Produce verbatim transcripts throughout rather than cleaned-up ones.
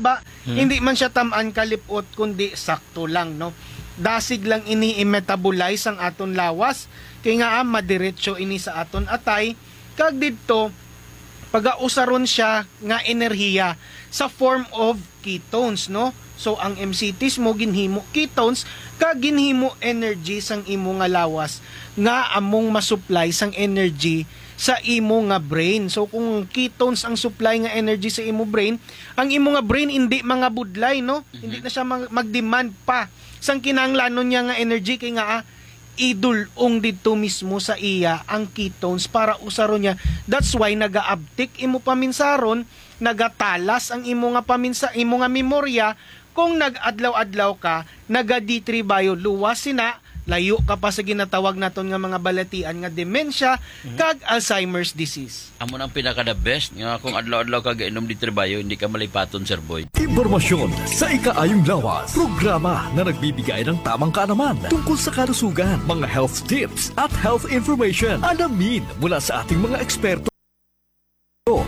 ba, hindi man siya tam-an kalipot, kundi sakto lang, no? Dasig lang ini i-metabolize ang aton lawas, kay nga, ah, madiretso ini sa aton atay, kag didto, pagausaron siya nga enerhiya sa form of ketones, no? So, ang M C Ts mo ginhimo ketones, kag ginhimo energy sang imo nga lawas nga among masupply sang energy sa imo nga brain. So, kung ketones ang supply nga energy sa imo brain, ang imo nga brain hindi mangabudlay, no? Hindi na siya mag- mag-demand pa sang kinahanglanon niya nga energy, kay nga, ah, idul-ong didto mismo sa iya ang ketones para usaron niya. That's why naga-uptick imo paminsaron, nagatalas ang imo nga paminsa imo nga memorya. Kung nag-adlaw-adlaw ka naga-D three bio, luwas sina, layo ka pa sa ginatawag naton nga mga balatian nga dementia kag Alzheimer's disease. Amo nang pinaka the best nga kung adlaw-adlaw ka gainom D three bio, hindi ka malipaton, Sir Boy. Impormasyon sa ikaayong lawas. Programa na nagbibigay ng tamang kaalaman tungkol sa kalusugan, mga health tips at health information. Alamin mula sa ating mga eksperto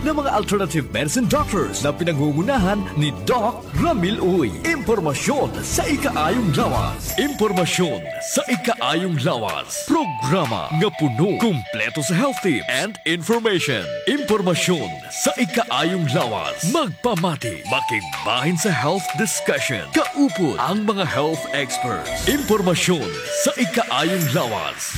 na mga alternative medicine doctors na pinangungunahan ni Doc Ramil Uy. Impormasyon sa ikaayong lawas. Impormasyon sa ikaayong lawas. Programa nga puno, kumpleto sa health tips and information. Impormasyon sa ikaayong lawas. Magpamati, makigbahin sa health discussion. Kaupod ang mga health experts. Impormasyon sa ikaayong lawas.